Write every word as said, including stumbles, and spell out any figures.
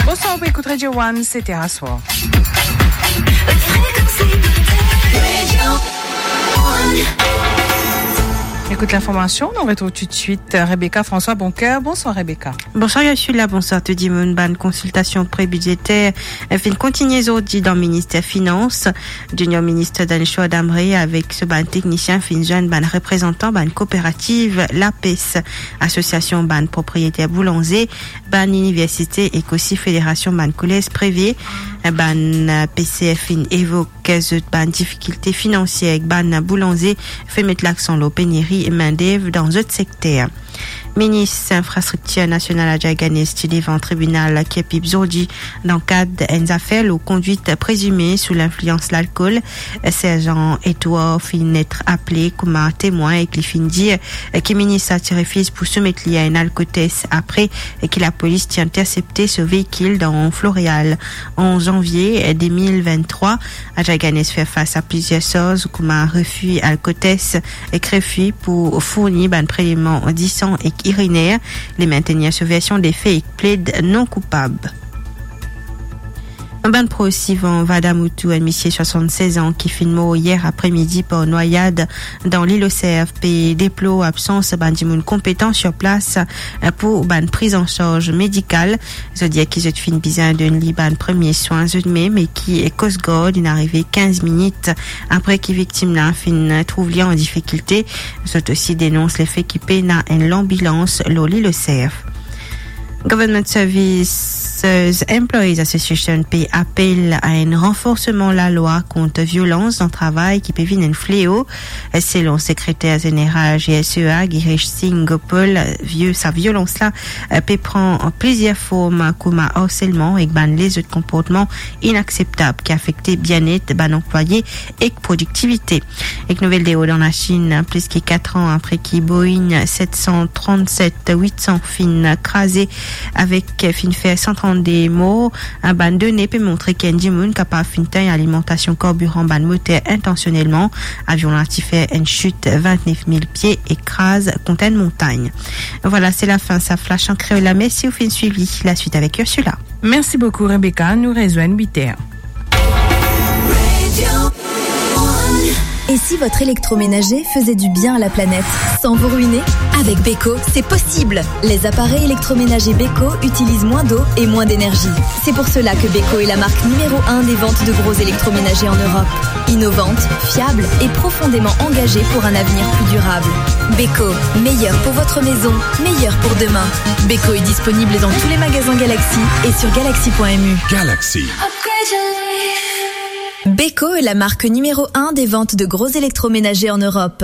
Bonswar, ou ekout Radio One, se Terra Soir. Écoute l'information, on retrouve tout de suite Rebecca François Boncoeur. Bonsoir Rebecca. Bonsoir Ursula, bonsoir tout dimoun. Bann konsiltasion pre-bidzeter finn kontigne zordi dan Minister Finans. Junior Minister Danishwa Dhamre avek so bann teknisien finn zwenn bann reprezantan bann kooperativ, lapes, asosiasion bann propriyeter boulanze, bann liniversite ek osi Federasion bann kolez prive. Bann P C F finn evok zot bann difikilte finansier ek bann boulanze, finn met laksan lor peneri mindev dan zot sekter. Minis Infrastriktir Nasional Ajay Ganesh ti devan tribinal Kirpip zordi dan kad enn zafer lor kondwit prezime sou linflians lalkol. Serzan Edouard finn et apele kouma temwin ek li finn dir ki minis la ti refiz pou soumet li a enn alkotes apre ki lapolis ti intersepte so veikil dan Floreal. An zanvie de mil venntrwa, Ajay Ganesh fer fas a plizier sarz kouma refi alkotes ek refi pou fourni bann preleman disan ek iriner. Li mintenir so version de fe ek pled non koupab. Bann pros Ivan Vadamoutou, enn misie swasann-sez an ki finn mor yer apremidi par nwayad dan Lil Oserf, pe deplor absans bann dimoun konpetan sir plas pou bann priz an sarz medikal. Zot dir ki zot finn bizin donn li bann premie swin zot mem e ki Coast Guard inn arive kinz minit apre ki viktim la finn trouv li an difikilte. Zot osi denons lefe ki pena enn lanbilans lor Lil Oserf. Government Services Employees Association pe apel a enn ranforsman lalwa kont violans dan travay ki pe vinn enn fleo. Selon sekreter zeneral G S E A, Girish Singh Gopal, vie-, sa violans la, eh, pe pran plizier form kouma arselman ek bann lezot konportman inakseptab ki afekte bienet bann anplwaye ek prodiktivite. Ek nouvel deord an Lasinn, plis ki kat an apre ki Boeing set san trannset wit san finn kraze avek, finn fer san trannde mor, bann done pe montre ki enn dimoun kapav finn tegn alimantasion karbiran bann moter intansionelman. Avion la ti fer enn sit vintnef mil pie e kraz kont enn montagn. Vwala, se lafin sa flash an kreol la. Mersi ou finn swiv li. Laswit avek Ursula. Merci beaucoup, Rebecca. Nous rejoignons huit heures. Et si votre électroménager faisait du bien à la planète sans vous ruiner ? Avec Beko, c'est possible. Les appareils électroménagers Beko utilisent moins d'eau et moins d'énergie. C'est pour cela que Beko est la marque numéro un des ventes de gros électroménagers en Europe. Innovante, fiable et profondément engagée pour un avenir plus durable. Beko, meilleur pour votre maison, meilleur pour demain. Beko est disponible dans tous les magasins Galaxy et sur galaxy point M U. Galaxy. Beko est la marque numéro un des ventes de gros électroménagers en Europe.